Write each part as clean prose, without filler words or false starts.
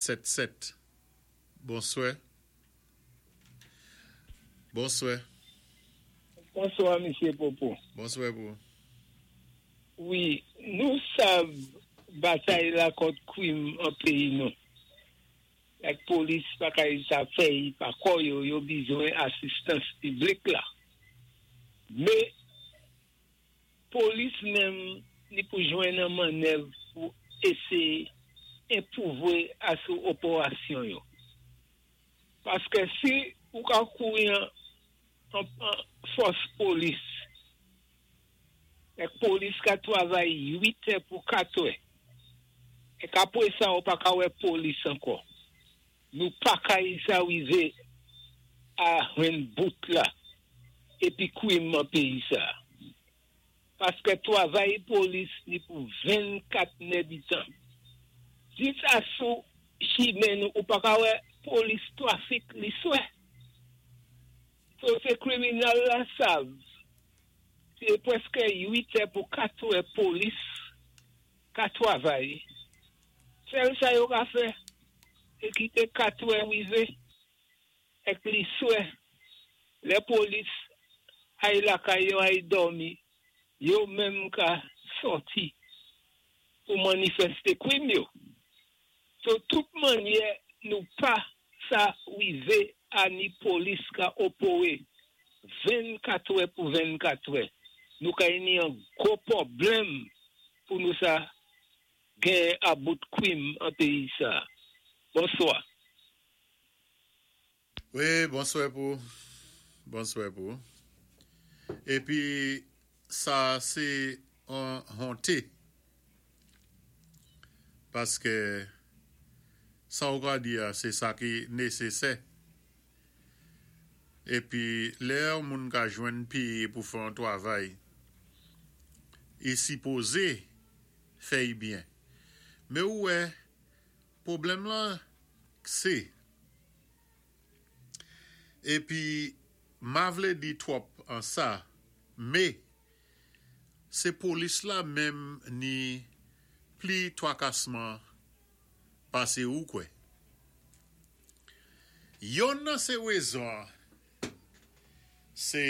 7 7. Bonswè. Bonswè. Bonswa, Misyé Popo. Bonswè pou. Wi, nou sav batay la kont kwim an péyi nou. Ak polis pa kay sa fèy pa kò yo, yo bizwen asistans piblik la. Mé polis menm ni pou jwenn an mannèv pou éséyé enpwouvwé asou opérasyon yo. Paské si ou ka kouri an fòs polis, èk polis ka twavay 8 è pou 4 è, èk apwé sa ou pa ka wè polis ankò. Nou pa kay sa wivé a jwenn bout la épi kwim an péyi sa. Paské twavay polis ni pou 24 nèditan. Dis asou chimen nou ou pa ka wè polis twafik li swè. So sé kriminèl la sav. Sé pwèské 8 è pou 4 è polis ka twavay. Sèl sa yo ka fè, sé kité 4 è wivé èk li swè. Lè polis ay lakay yo ay dòmi, yo menm ka sòti pou manifèsté kwim yo. So tout mannyè nou pa sa wivé a ni polis ka opéwé 24 è pou 24 è. Nou kay ni an gwo pwoblèm pou nou sa gen about kwim an péyi sa. Bonswa. Wi, bonswè pou. Bonswè pou. Épi sa sé an honté. Paské sa ou ka di a, sé sa ki nésésè. Épi lè yon moun ka jwenn péyé pou fè an twavay, i sipozé fè'y byen. Mé ou wè, pwoblèm lan sé épi ma vlé di twòp an sa, mé sé polis la menm ni pli twakasman pasé ou kwè. Yonn nan sé wézon sé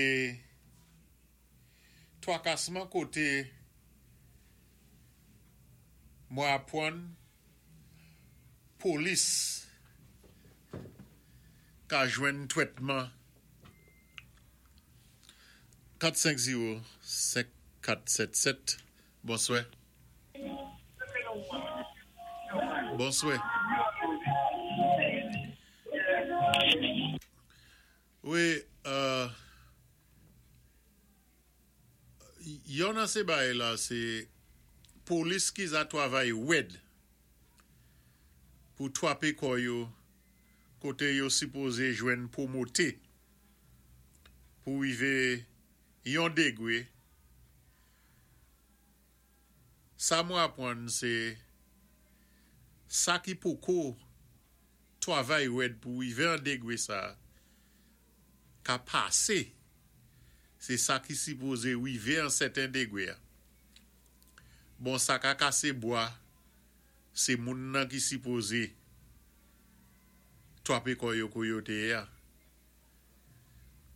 twakasman koté mwen apwann polis ka jwenn twètman 450 5477. Bonswè. Bonswè. Wi, yon nan sé bagay la sé polis ki za twavay wèd pou twapé kò yo koté yo sipozé jwenn pwomoté pou wivé yon dégwé. Sa mwen apwann sé sa ki poko twavay wèd pou wivé an dégwé sa ka pasé sé sa ki sipozé wivé an sèten dégwé a. Bon, sa ka kasé bwa sé moun nan ki sipozé twapé kò yo kou yo té yé a.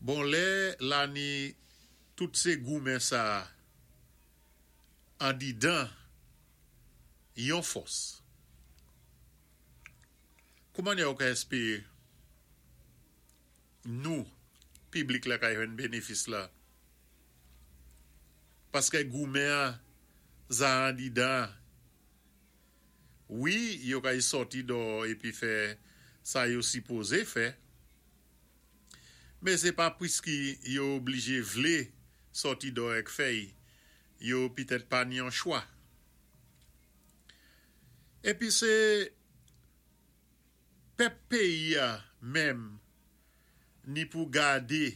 Bon, lè la ni tout sé goumen sa andidan yon fòs. Kouman yo ka èspéwé nou piblik la ka jwenn bénéfis la? Paské goumen an za andidan. Wi, yo kay sòti dò épi fè sa yo sipozé fè. Mé sé pa pwiski yo oblijé vlé sòti dò èk fè'y, yo pitèt pa ni an chwa. Épi sé pèp péyi a menm ni pou gadé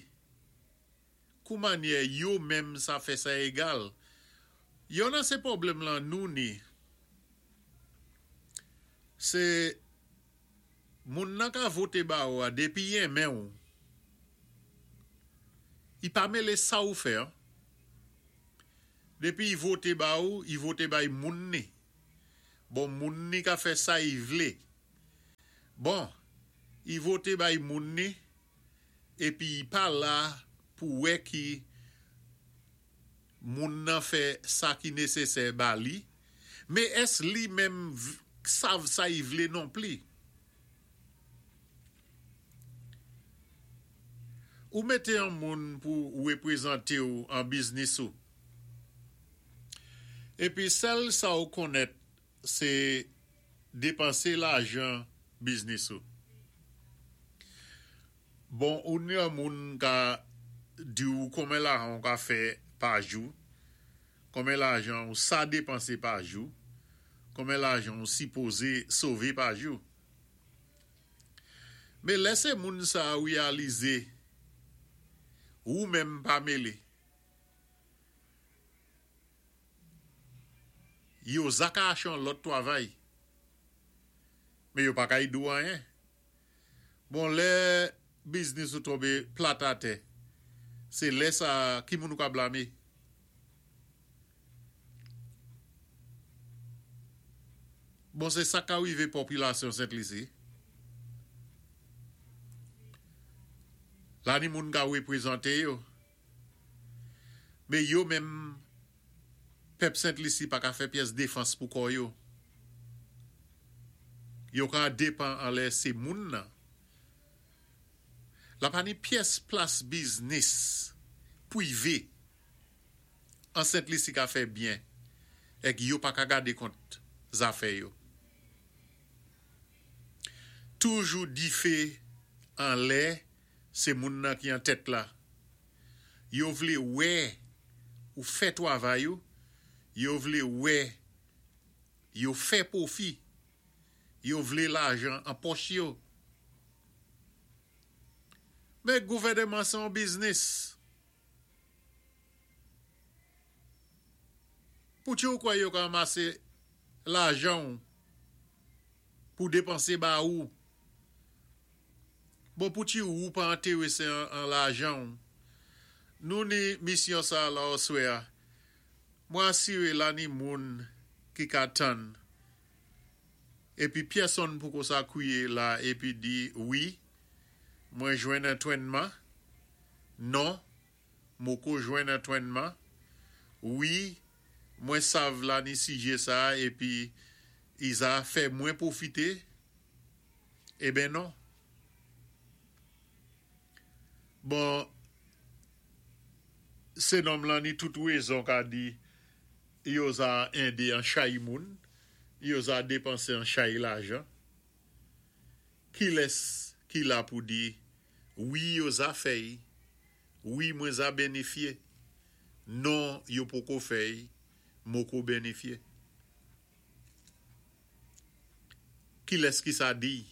kou mannyè yo menm sa fè sa égal. Yon nan sé pwoblèm lan nou ni sé moun nan ka voté ba ou a dépi i enmen ou. I pa mélé sa ou fè an. Dépi i voté ba ou, i voté bay moun ni. Bon, moun ni ka fè sa i vlé. Bon, i voté bay moun ni épi i pa la pou wè ki moun nan fè sa ki nésésè ba li, mé ès li menm sav sa i vlé nonpli? Ou mété an moun pou wépwézanté-w an biznis ou. Épi sèl sa ou konnèt sé dépansé lajan biznis ou. Bon ou ni an moun ka di-w konmen lajan ou ka fè pa jou, konmen lajan ou sa dépansé pa jou, konmen lajan ou sipozé sové pa jou. Men lè se moun sa a reyalize ou menm pa mele. Yo za ka ache yon lòt twavay. Men yo pa ka ede w anyen. Bon lè biznis ou tonbe plat atè, se lè sa a ki moun ou ka blame? Bon se sa ka rive popilasyon Sent Lisi. La ni moun ka reprezante yo. Men yo menm pèp Sent Lisi pa ka fè pyès defans pou kò yo. Yo ka depan anlè se moun nan. La pa ni pyès plas biznis pwive. An Sent Lisi ka fè byen èk yo pa ka gade kont zafè yo. Toujou dife anlè se moun nan ki an tèt la. Yo vle wè ou fè twavay ou, yo vle wè yo fè pwofi, yo vle lajan an pòch yo. Men gouvèneman se yon biznis. Pouki ou kwè yo ka anmase lajan w pou depanse ba ou? Bon pouki ou pa enterese an lajan w? Nou ni misyon sa la oswè a. Mwen asire la ni moun ki ka tann. Epi pyèsonn poko sa kwiye la epi di wi mwen jwenn antwennman. Non, moko jwenn antwennman. Wi, mwen sav la ni sijé sa epi i za fè mwen pwofité. Eben non. Bon, sé nonm lan ni tout wézon ka di yo za édé an chay moun, yo za dépansé an chay lajan. Kilès ki la pou di wi yo za fè-y, wi mwen za benifye, non yo poko fè-y, moko benifye? Kilès ki sa di-y?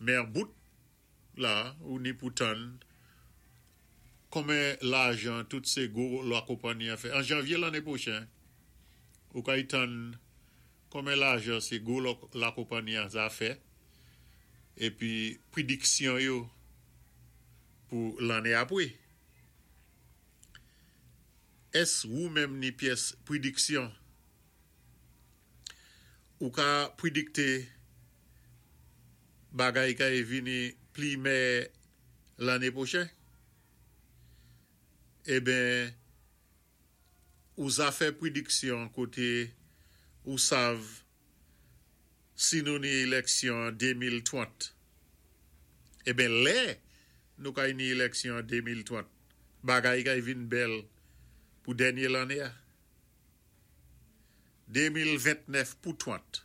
Men an bout la ou ni pou tann konmen lajan tout sé gwo lakonpanni an fè. An janvye lanné pwochen, ou kay tann konmen lajan sé gwo lakonpanni an za fè épi pwediksyon yo pou lanné apwé. Ès wou menm ni pyès pwediksyon? Ou ka pwedikté Bagay kay vini pli mèyè lanne pwochen? Eben, ou zafè prediksyon kote ou sav si nou ni elèksyon an 2030. Eben, lè nou kay ni elèksyon an 2030, bagay kay vin bèl pou dènye lanne a. 2029 pou 30.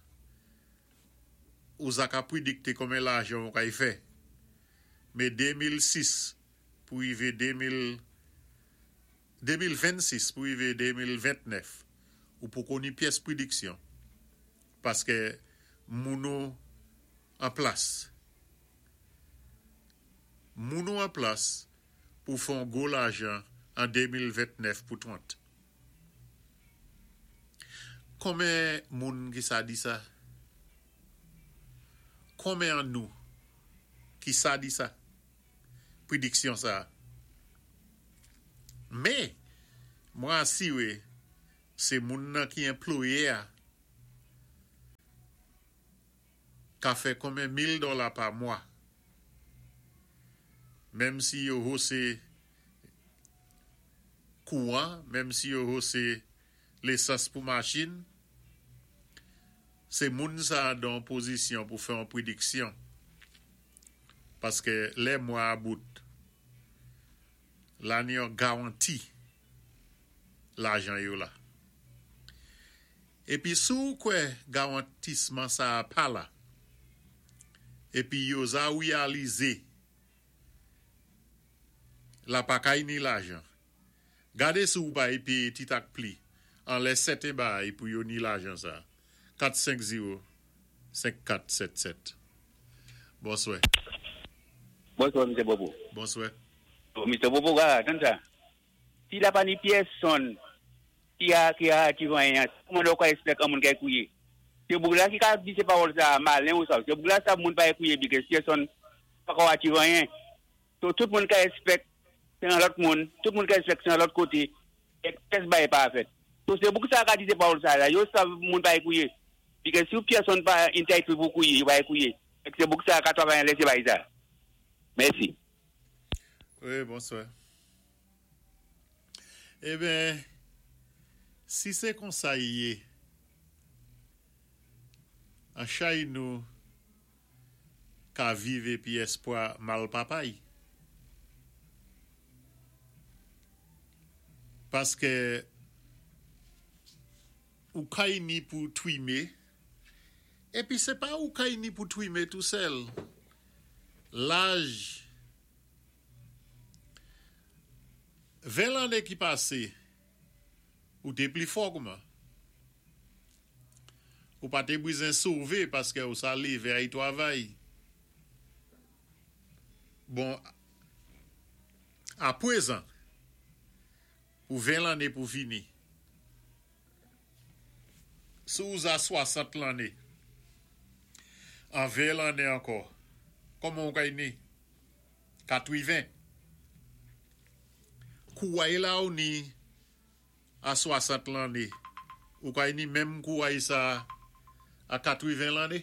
Ou za ka pwidikte konmen lajan ou kay fè. Me 2006 pou rive 2000 2026 pou rive 2029 ou poko ni pyès pwidiksyon paskè moun ou an plas. Moun ou an plas pou fè on gwo lajan an 2029 pou 30. Konmen moun ki sa di sa? Konmen an nou ki sa di sa? Prediksyon sa. Men, mwen asire se moun nan ki enploye a. Ka fè konmen mil dòla pa mwa. Menm si yo hose kouwan, menm si yo hose lesans pou machin, sé moun sa dan yon pozisyon pou fè yon prediksyon. Paskè lè mwa a bout, la ni yon garanti lajan yo la. Épi si ou kwè garantisman sa-a pa la, épi yo za reyalizé la pa kay ni lajan, gadé si ou pa péyé ti tak pli anlè sèten baay pou yo ni lajan sa. 4 5 0 5 4 7 7 Bonswè. Bonswa Mistè Popo. Bonswè. Mistè Popo wa tann sa. Si la pa ni pyèsonn ki a ki a achiv anyen an, kouman lè ou ka espèk an moun kay kouye? Se boug la ki ka di se pawòl sa a malen ou sa. Se boug la sa moun pa kouye bikè pyèsonn pa ka achiv anyen. So tout moun ka espèk se an lòt moun, tout moun ka espèk se an lòt kote, èk pyès bagay pa fèt. So se boug sa a ka di se pawòl sa a la. Yo sav moun pa kouye. Bikè si pyèsonn pa entitled pou kouye, yo pa kouye. Èk se boug sa a ka travay an lè se bagay sa a. Mèsi. Wi, bonswa. Eben, si sé konsa y yé, an chay nou ka viv épi èspwa mal papay. Paskè ou kay ni pou twimé, épi sé pa ou kay ni pou twimé tou sèl. Laj 20 lanné ki pasé, ou té pli fò kouman? Ou pa té bizen sové paskè ou sa lévé ay twavay. Bon, apwézan, pou 20 lanné pou vini, si ou za 60 lanné, an 20 lanné ankò, kòman ou kay ni? Katwiven. Kouway la ou ni a 60 lanné, ou kay ni menm kouway sa a katwiven lanné?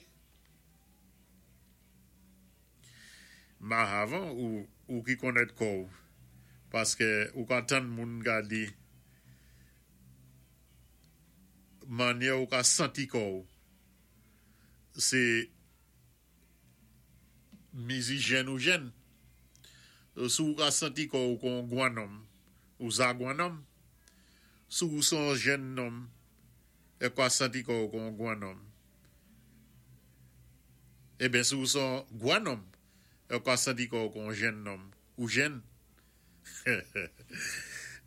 Mahavan ou ou ki konnèt kò ou, paskè ou ka tann moun ka di mannyè ou ka santi kò ou sé mizi jèn ou jèn. Si ou ka santi kò ou kon gwan nonm, ou za gwan nonm. Si ou son jèn nonm, è ka santi kò ou kon gwan nonm. Eben si ou son gwan nonm, è ka santi kò ou kon jèn nonm, ou jèn.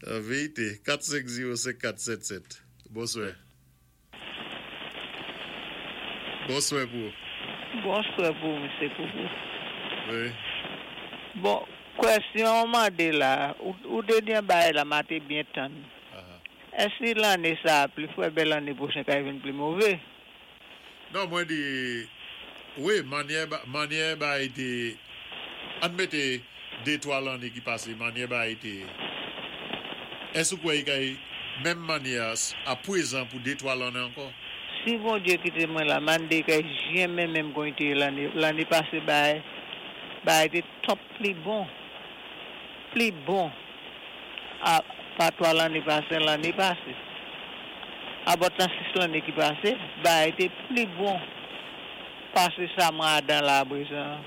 An vérité, 4 5 0 5 4 7 7. Bonswè. Bonswè pou ou. Bonswè pou ou, Msye Poupou. Wi. Bon, kwèsyon ou mandé la, ou té di yon bagay la ma té byen tann. Èsi lanné sa a pli fwè bè lanné pwochen kay vin pli mové? Non mwen di wi manyè manyè bay te ann mete de twa lanne ki pase manyè bay te èske ou kwè li kay menm manyè a a pwezan pou de twa lanne ankò? Si Bondye kite mwen la mande kay jyenmen menm kon li te ye lanne lanne pase bay bagay te top pli bon pli bon. A pa 3 lanne pase, lanne pase. Abòt lan 6 lanne ki pase, bagay te pli bon pase sa mwen adan la aprezan an.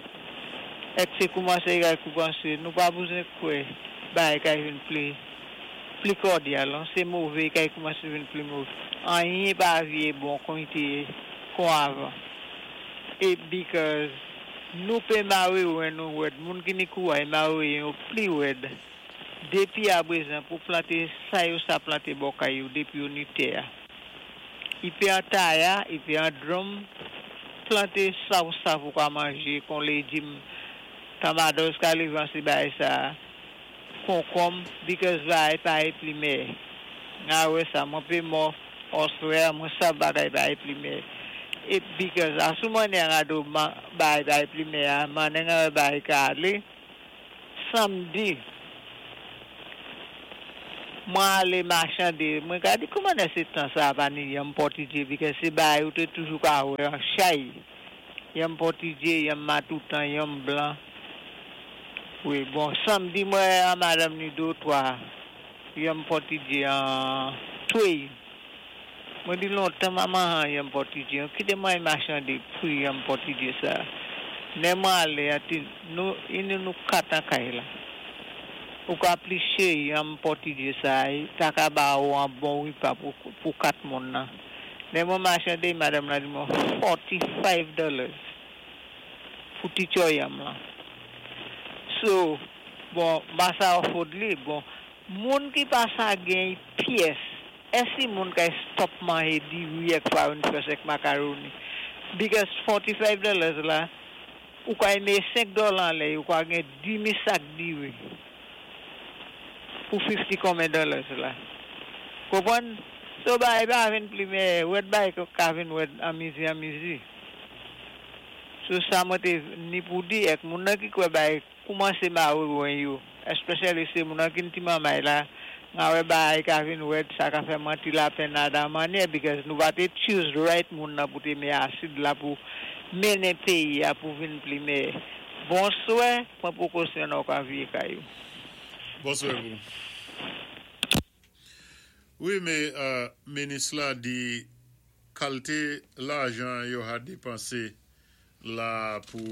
Èk se koumanse kay koupanse, nou pa bouzen kwè bagay kay vin pli pli kòdyal non, se move kay koumanse vin pli move. Anyen pa vye bon kon li te ye kon avan. E because nou pe mare wen nou rèd, moun ki ni kouray mare wen yo pli rèd. Dépi aprezan pou planté sa yo sa planté bò kay yo dépi yo ni tè a. I pé an taya, i pé an drum, planté sa ou sav ou ka manjé kon lédim, tamadòz ka lévé an sé bagay sa a, konkonm, because bagay pa é pli mèyè. Nga wè sa, mwen pé mò òswè a, mwen sav bagay pa é pli mèyè. É because asou mannyè nga do bagay pa é pli mèyè a, mannyè nga wè bagay ka alé, Samdi, mwen alé machande, mwen ka di kouman nè sé tan sa a pa ni yanm pòtidye because sé bagay ou té toujou ka wè an chay. Yanm pòtidyé, yanm matoutan, yanm blan. Wi, bon, sanmdi mwen a madanm ni dé ou twa yanm pòtidyé an twéy. Mwen di lontan ma manhan yanm pòtidyé an, kité mwen ay machandé pri yanm pòtidyé sa. Nè mwen alé an ti nou ini nou 4 an kay la. Ou ka pliché yanm pòtidyé sa a, ta ka ba ou an bon ripa pou pou 4 moun nan. Lè mwen machande, madanm lan di mwen 45 dollars pou ti tchò yanm lan. So, bon, ma sa afford li, bon, moun ki pa sa gen pyès, èsi moun kay stop manje diri èk farin frèch èk makaroni? Because 45 dollars la, ou kay mé 5 dola anlè, ou ka gen dimi sak diri pou 50 konmen dollars la. Konpwann? So bay pa vin pli meyè, wèd bay ka vin wèd an mizi an mizi. So sa mwen té ni pou di èk moun nan ki kwè bay koumansé mawé wen yo, especially sé moun nan ki ti manmay la, nga wè bay ka vin wèd, sa ka fè manti lapenn a mannyè because nou pa té choose right moun nan pou té mé asid la pou mennen péyi a pou vin pli meyè. Bonswè, pwan pwékosyon nan ou ka viyé kay ou. Bonswè pou. Wi, mé minis la di kalité lajan yo ha dépansé la pou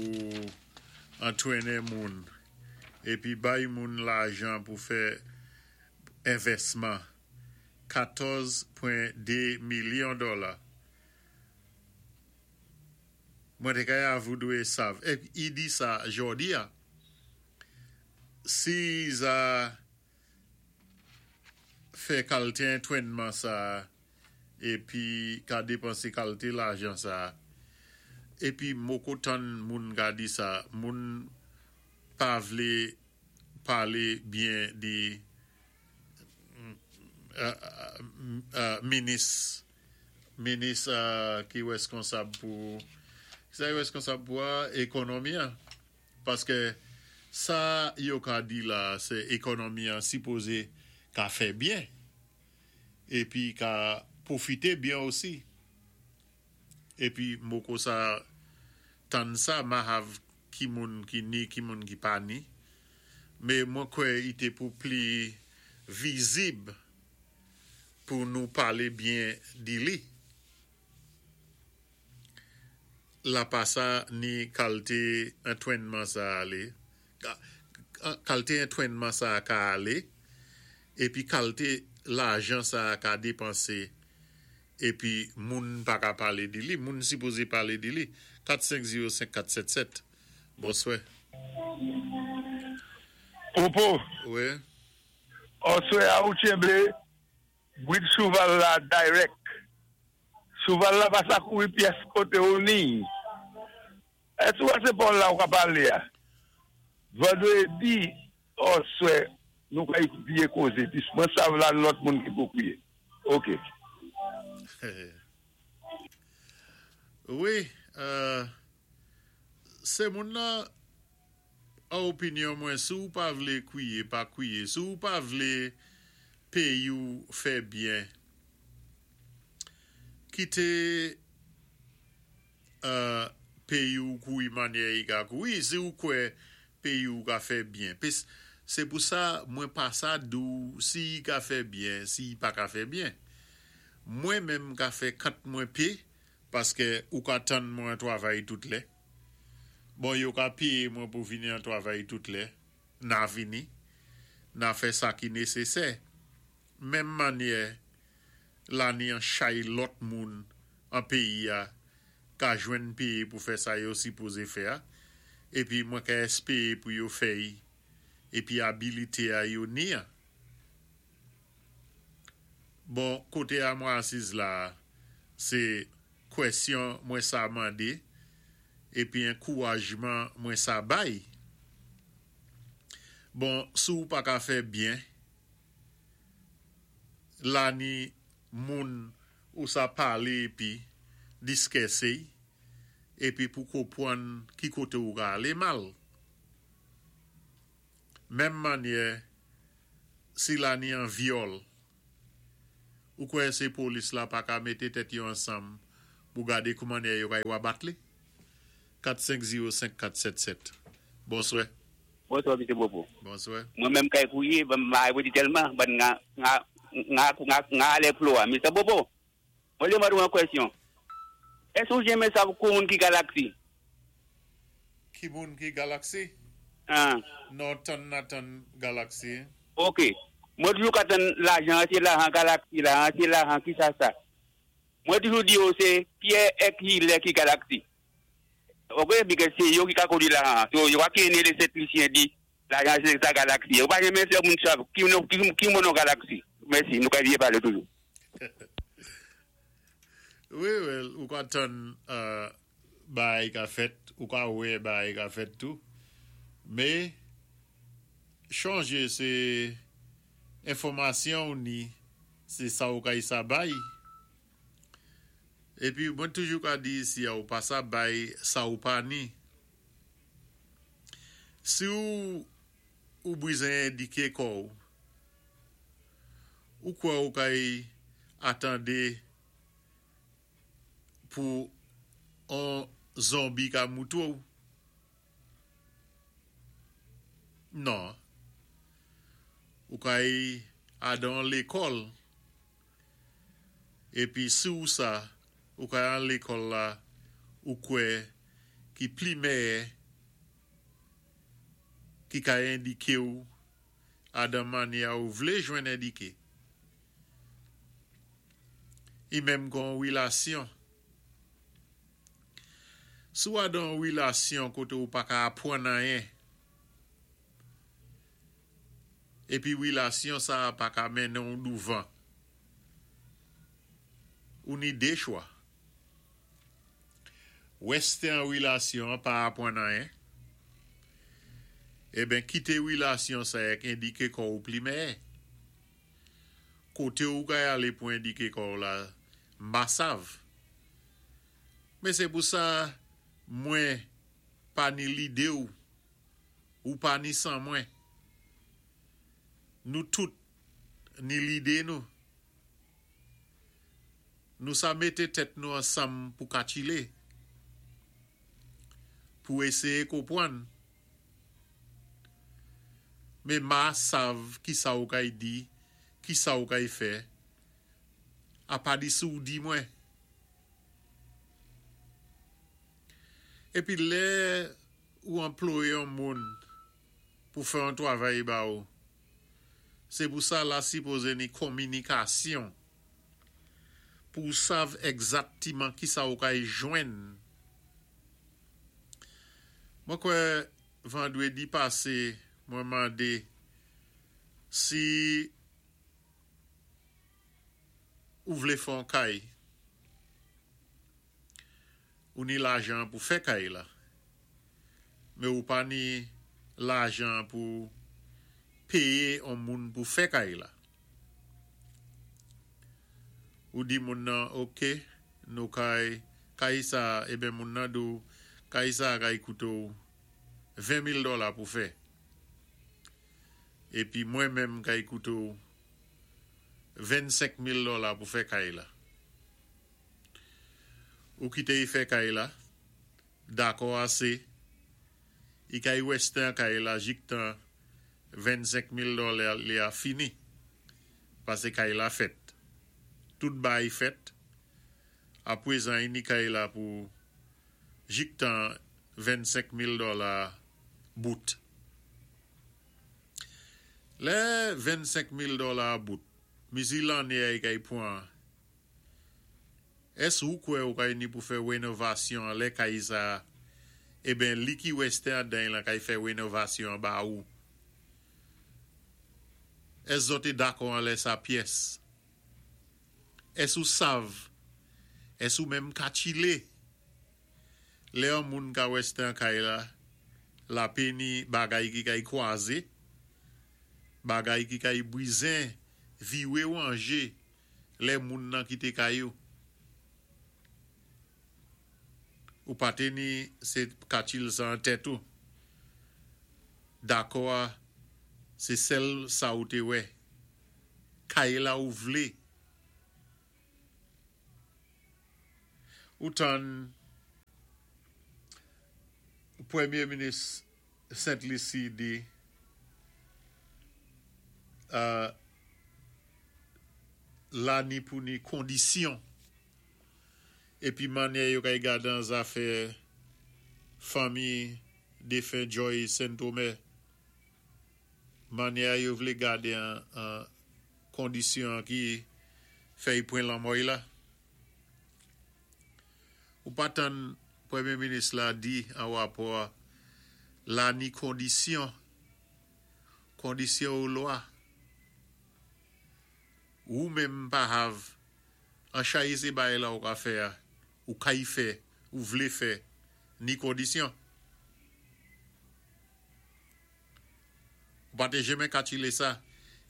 antwénnen moun épi bay moun lajan pou fè envèsman 14.2 milyon dola. Mwen té kay avou dwé sav. É i di sa jòdi a. Si za fè kalité antwénman sa épi ka dépansé kalité lajan sa épi moko tann moun ka di sa moun pa vlé palé byen di minis minis ki wèskonsab pou sa ki wèskonsab pou a ékonomi an paské sa yo ka di la sé ékonomi an sipozé ka fè byen épi ka pwofité byen osi épi moko sa tann sa ma hav ki moun ki ni ki moun ki pa ni mé mwen kwè i té pou pli vizib pou nou palé byen di li. La pa sa ni kalte antwénman sa alé, kalte antwénman sa ka alé, épi kalte lajan sa ka dépansé, épi moun pa ka palé di li, moun sipozé palé di li. 4 5 0 5 4 7 7. Bonswè. Popo. Wi. Oswè a ou tchenbé brid chouval la direct. Chouval la pa sa kouri pyès koté ou ni. Èsi ou wè sé paw la ou ka palé a? Vandrédi oswè nou kay vyé kozé pis mwen sav la lòt moun ki pou kwiyé. Ok. Wi, sé moun nan an opinyon mwen si ou pa vlé kwiyé pa kwiyé, si ou pa vlé péyi ou fè byen kité péyi ou kouri mannyè i ka kouri, si ou kwè péyi ou ka fè byen. Pis sé pou sa mwen pa sa di ou si i ka fè byen, si i pa ka fè byen. Mwen menm ka fè kant mwen pé paskè ou ka tann mwen an twavay tout lè. Bon yo ka péyé mwen pou vini an twavay tout lè, na vini, na fè sa ki nésésè. Menm mannyè la ni an chay lòt moun an péyi a ka jwenn péyé pou fè sa yo sipozé fè a, épi mwen ka èspéyé pou yo fè-y, épi abilité a yo ni a. Bon, koté a mwen asiz la a, sé kwèsyon mwen sa mandé, épi ankourajman mwen sa bay. Bon, si ou pa ka fè byen, la ni moun ou sa palé épi diskèsé-y, épi pou konpwann ki koté ou ka alé mal. Menm mannyè si la ni an vyòl, ou kwè sé polis la pa ka mété tèt yo ansanm pou gadé koumannyè yo kay wabat li? 450 5477. Bonswè. Bonswa Mesye Bobo. Bonswè. Mwen menm kay fouye banm m pa di tèlman bann nga nga nga nga nga alè flo a Mister Bobo mwen vlé mande w yon kwèsyon èske ou jenmen sav kou moun ki galaxy? Ki moun ki galaxy? An. Non tann na tann galaxy. Ok mwen toujou ka tann lajan an se lajan galaxy lajan se lajan kisa sa mwen toujou di yo se Pierre ek Hilaire ki galaxy. Ok because se yo ki ka kondwi lajan an so yo pa knnen le sent lisyen di lajan se sa galaxy yo pa renmen fè moun sav ki ki mo non galaxy mèsi nou ka byen pale toujou. Wi well ou ka tann bagay ka fèt ou ka wè bagay ka fèt tou me chonje se enfòmasyon ou ni se sa ou kay sa bay. Epi mwen toujou ka di isi a ou pa sa bay sa ou pa ni. Si ou ou brizen endike kò ou, ou kwè ou kay atande pou on zonbi ka moutre ou? Non. Ou kay adan lekòl. Epi si w sa, ou ka al lekòl la ou kwè ki pli mèyè ki ka endike w adan manyè a ou vlé jwenn endike. I menm kon wilasyon. Si w adan yon wilasyon koté ou pa ka apwann anyen, Epi relasyon sa a pa ka mennen w douvan. Ou ni de chwa. Reste an relasyon an pa apwann anyen. Eben kite relasyon sa ek endike kò ou pli mèyè. Kote ou kay ale pou endike kò w la, m pa sav. Men se pou sa mwen pa ni lide w. Ou pa ni mwen. Nou tout ni lidé nou. Nou sa mété tèt nou ansanm pou ka tchilé. Pou éséyé konpwann. Mé ma sav ki sa ou kay di, ki sa ou kay fè, apa di si ou di mwen. Épi lè ou anployé yon moun pou fè yon twavay ba ou, sé pou sa la sipozé ni konminikasyon pou ou sav ègzaktiman ki sa ou kay jwenn. Mwen kwè vandrédi pasé mwen mandé si ou vlé fè yon kay, Ou ni lajan pou fè kay la. Men ou pa ni lajan pou péyé on moun pou fè kay la. Ou di moun nan ok nou kay kay sa eben moun nan di w kay sa kay koute w 20 mil dòla pou fè. Épi mwen menm kay koute w 25 mil dòla pou fè kay la. Ou kité y fè kay la, dakò asé, i kay wèstè an kay la jiktan 25 mil dòlè li a fini, pasé kay la fèt. Tout baay fèt, apwézan i ni kay la pou jiktan 25 mil dòla bout. Lè 25 mil dòla a bout, mizi lanné a i kay pwan Ès ou kwè ou kay ni pou fè renovasyon anlè kay sa a? Eben li ki wèstè andany lan kay fè renovasyon an ba ou. Ès zòt te dakò anlè sa pyès? Ès ou sav? Ès ou menm ka tchile? Lè yon moun ka wèstè an kay la, lape ni bagay ki kay kwaze, bagay ki kay brizen, viwe wanje, lè moun nan kite kay ou. Ou pa te ni se katil sa an tèt ou. Dakò a se sèl sa ou te wè. Kay la ou vle. Ou tann. Pwémyé minis Sent Lisi di la ni pou ni kondisyon épi mannyè yo kay gadan zafè fanmi défen Joy Sentomè, mannyè yo vlé gade an kondisyon ki fè y pwen lanmò-y la. Ou pa tann Premye minis la di an rapò la ni kondisyon, kondisyon ou lwa. Ou menm pa hav an chayi sé bagay la ou ka fè a, ou kay fè, ou vlé fè, ni kondisyon. Ou pa té jenmen katchilé sa,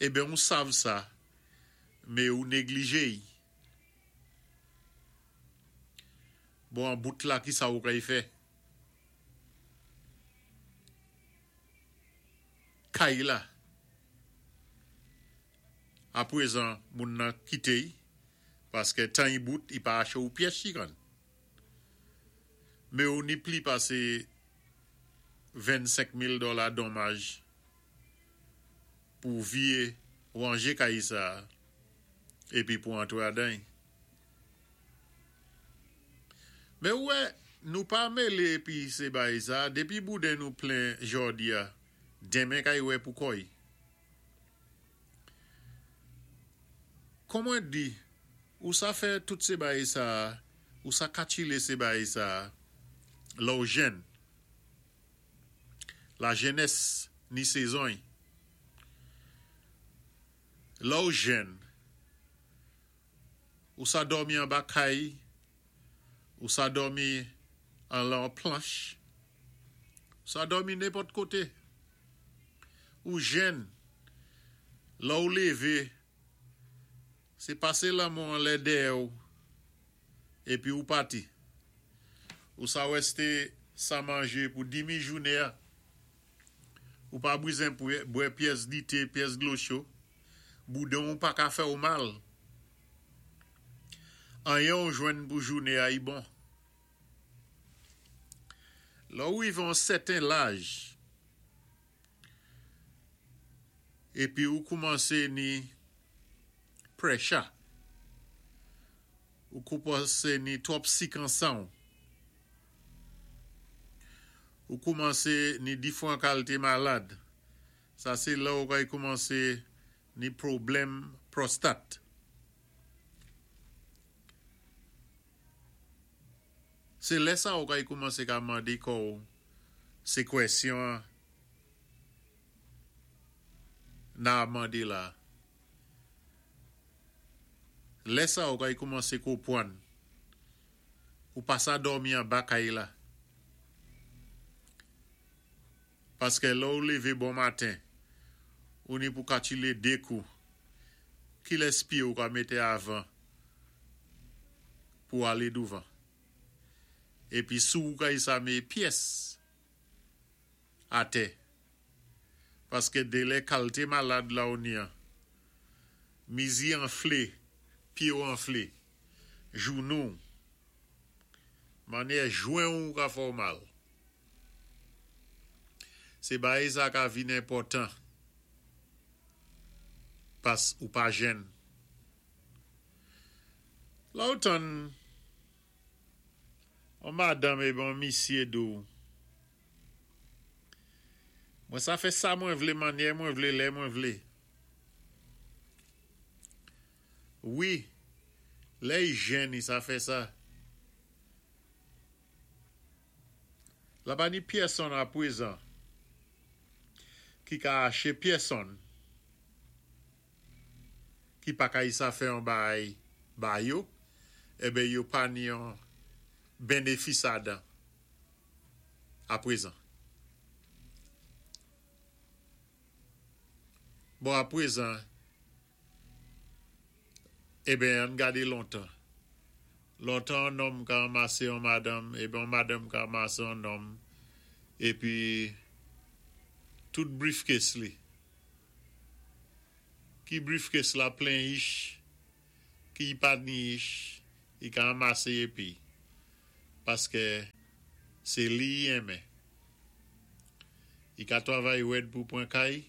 eben ou sav sa, mé ou neglijé-y. Bon an bout la kisa ou kay fè? Kay la Aprezan moun nan kite y paskè tan y bout y pa ache ou pyès chikann. Men ou ni pli pase 25 mil dòla donmaj pou vye ranje kay sa épi pou antre adan y. Men ou wè nou pa mélé épi sé bay sa dépi bouden nou plen jòdi a denmen kay wè pou kò y. Kon mwen di ou sa fè tout sé bay sa ou sa katchilé sé bay sa lè w jenn. La jenès ni sezon y. Lè w jenn, ou sa dòmi anba kay, ou sa dòmi anlè yon planch, ou sa dòmi nenpòt koté. Ou jenn, lè w lévé, sé pasé lanmò anlè dèyè w épi ou pati. Ou sa wèsté sa manjé pou dimi jouné a. Ou pa brizen bwè pyès dité, pyès dlo cho. Boudan w pa ka fè w mal. Anyen w jwenn pou jouné a y bon. Lè w rivé yon sèten laj, épi ou koumansé ni prècha, ou koumansé ni twòp sik an sanw, Ou koumanse ni difran kalte malad. Sa se lè ou kay koumanse ni pwoblèm pwostat. Se lè sa ou kay koumanse ka mande kò ou se kwèsyon an na mande la. Lè sa ou kay koumanse kopwann. Ou pa sa dòmi anba kay la. Paskè lè ou lévé bon maten, ou ni pou katchilé dé kou. Kilès pyé ou ka mété avan pou alé douvan? Épi sou ou kay sa mé pyès atè. Paskè délè kalté malad la ou ni an. Mizi anflé, pyé ou anflé. Jounou w. Mannyè jwen ou ka fè w mal. Se bagay sa ka vin enpòtan pas ou pa jenn. Lè w tann on madanm epi on misye di w mwen sa fè sa mwen vle mannyè mwen vle lè mwen vle. Wi, lè y jenn y sa fè sa. La pa ni pyèsonn apwezan ki ka ache pyèsonn ki pa ka y sa fè yon bagay ba yo, enben yo pa ni yon benefis adan apwezan. Bon apwezan. Eben, ann gade lontan. Lontan yon nonm ka anmase yon madanm, eben yon madanm ka anmase yon nonm, epi tout briefcase li, ki briefcase la plen ich, ki pa ni ich, li ka anmase epi, paske se li y enmen. I ka twavay wèd pou pwan kay,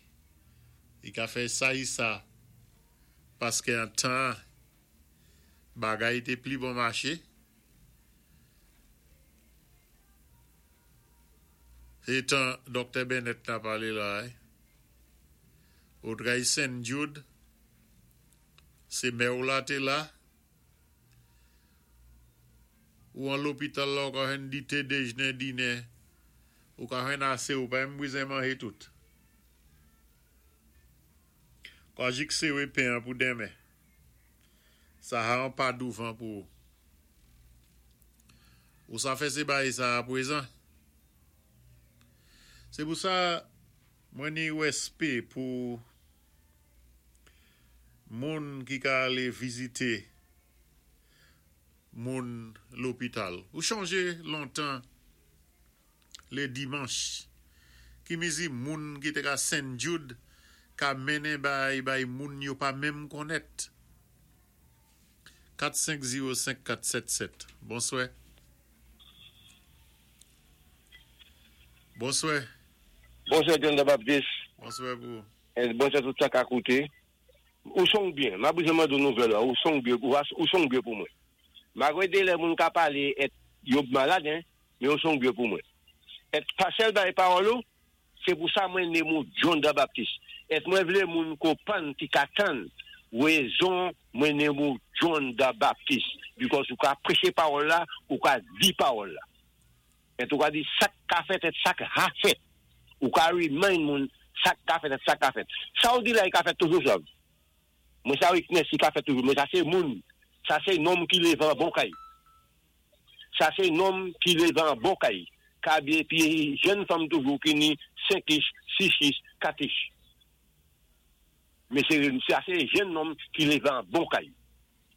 i ka fè sa i sa, paské an tan bagay té pli bon maché. Sé tan Doktè Bennett na palé la. Ou tray St. Jude, sé mè-w la té la, ou an lopital la ou ka jwenn dité, déjné, dinè, ou ka jwenn asé, ou pa menm bizwen manjé tout. Kwa jik séwé pen an pou denmen. Sa ha an pa douvan pou ou. Ou sa fè sé bagay sa a pwézan. Sé pou sa mwen ni wèspé pou moun ki ka alé vizité moun lopital. Ou chonjé lontan lé dimanch ki mizi moun ki té ka St. Jude ka mennen bay bay moun yo pa menm konnèt. 4 5 0 5 4 7 7. Bonswè. Bonswè. Bonswè John the Baptist. Bonswè pou. Bonswè tout sa ka kouté. Ou song byen. Ma bizwen mande ou nouvèl la. Ou song byen. Ou song byen pou mwen. Malgwé dé lè moun ka palé èt yo malad en, men ou song byen pou mwen. Èt pa sèl bay pawòl ou, sé pou sa mwen nonm ou John the Baptist. Èt mwen vlé moun konpwann ki ka tann wézon mwen nonm ou John the Baptist. Because ou ka préché pawòl la, ou ka di pawòl la. Èt ou ka di sak ka fèt èt sak ha fèt. Ou ka remind moun sak ka fèt èt sak ka fèt. Sa ou di la, i ka fèt toujou sa. Mwen sa weakness i ka fèt toujou. Men sa sé moun, sa sé nonm ki lévé an bon kay. Sa sé nonm ki lévé an bon kay. Ka byen pi jenn fanm toujou ki ni 5 ish, 6 ish, 4 ish. Men sé sa sé jenn nonm ki lévé an bon kay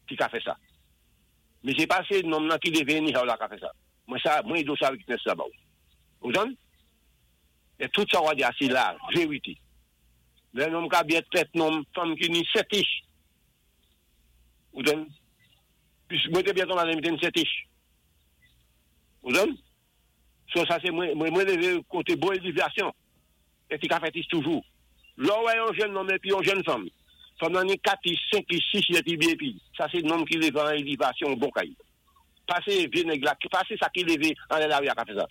ki ka fè sa. Men sé pa sé nonm nan ki lévé anyhow la ka fè sa. Mwen sa, mwen do sa weakness la ba ou. Ou tann? É tout sa ou di a sé la vérité. Lè nonm ka byen tèt nonm fanm ki ni 7 ish. Ou tann? Pis mwen té byen tonbé lè mwen 7 ish. Ou tann? So sa sé mwen mwen lévé koté bon élévasyon. É ki ka fèt is toujou. Lò wè yon jenn nonm épi yon jenn fanm. Fanm nan ni 4 ish, 5 ish, 6 ish épi byen épi. Sa sé nonm ki lévé an élévasyon bon kay. Pa sé vyé nèg la, pa sé sa ki lévé an lari a ka fè sa.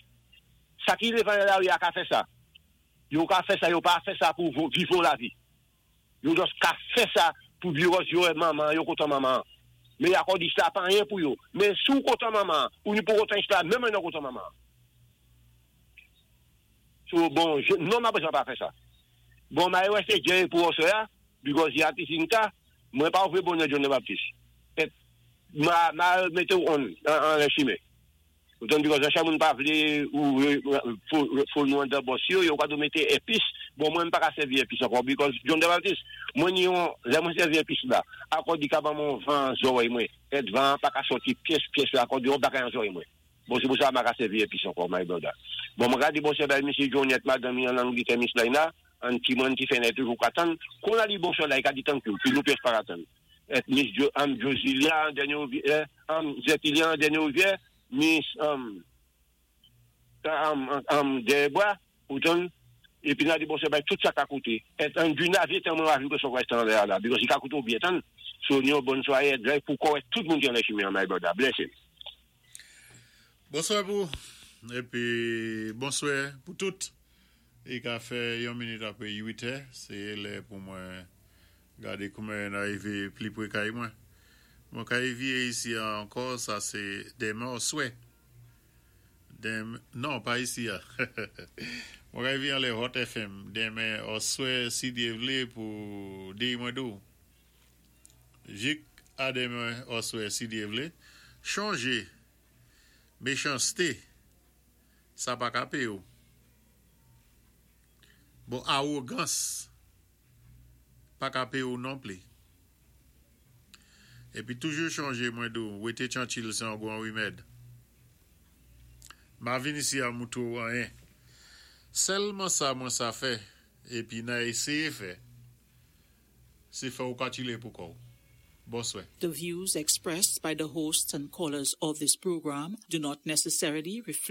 Sa ki lévé an lari a ka fè sa. Yo ka fè sa, yo pa fè sa pou viv lavi. Yo just ka fè sa pou because yo manman, yo kontan manman. Men akò di sa pa anyen pou yo. Men si ou kontan manman, ou ni pou kontan sa, menm non kontan manman. So bon, je, non ma bezwen pa fè sa. Bon, ma wè sé Jerry pou osè a, because y a ti ka, mwen pa ouvri bonè John the Baptist. Et ma mété ou on an an chimé. Ou tann because an moun pa vlé ou fò nou an dan bòs yo, yo ka do mété épis. Bon, mwen pa ka sèvi épis ankò because John the Baptist, mwen ni yon, lè mwen sèvi épis la, akò di ka ban mon van zòrèy mwen. Et van pa ka sòti pyès pyès la akò di yon bagay an zòrèy mwen. Bon, sé pou sa ma ka sèvi épis ankò, my brother. Bon, mwen gade bon bay Mesye Johnette, madame an Angletè, Miss Laina, an ti mwen ti fè toujou ka tann. Kon a di bon la, i ka di thank you, pi nou pyès pa ka tann. Et Miss Jo, Josilia, an dènyé rivyè, Zetilia, an dènyé rivyè, Miss, Debois, ou tann, épi nan di bon bay tout sa ka kouté. Et an du navire, tan mwen ajoute son reste en l'air là, because i ka kouté ou byen tann. So, ni yon bonne soirée, et pou kòwè tout moun ki an chimé, my brother. Bless him. Bonswè pou épi bonswè pou tout. I ka fè yon minit apwé 8 è, sé lè pou mwen gadé koumen arivé pli pwé kay mwen. Mwen ka évyé isi ankò, sa sé denmen oswè. Dem, non, pa isi a. Mwen ka évyé an lè Hot FM denmen oswè si Dyé vlé pou déy mwen dou. Jik a denmen oswè si Dyé vlé. Chonjé méchansté sa pa ka péyé ou. Bon, awogans pa ka péyé ou non pli. Épi toujou chonjé mwen dou, wété tyanchil sé an gwan wimèd. Ma vin isi a moutou anyen. Sèlman sa mwen sa fè, épi nan éséyé fè, sé fè ou ka chilé pou kò. Bonswè. The views expressed by the hosts and callers of this program do not necessarily reflect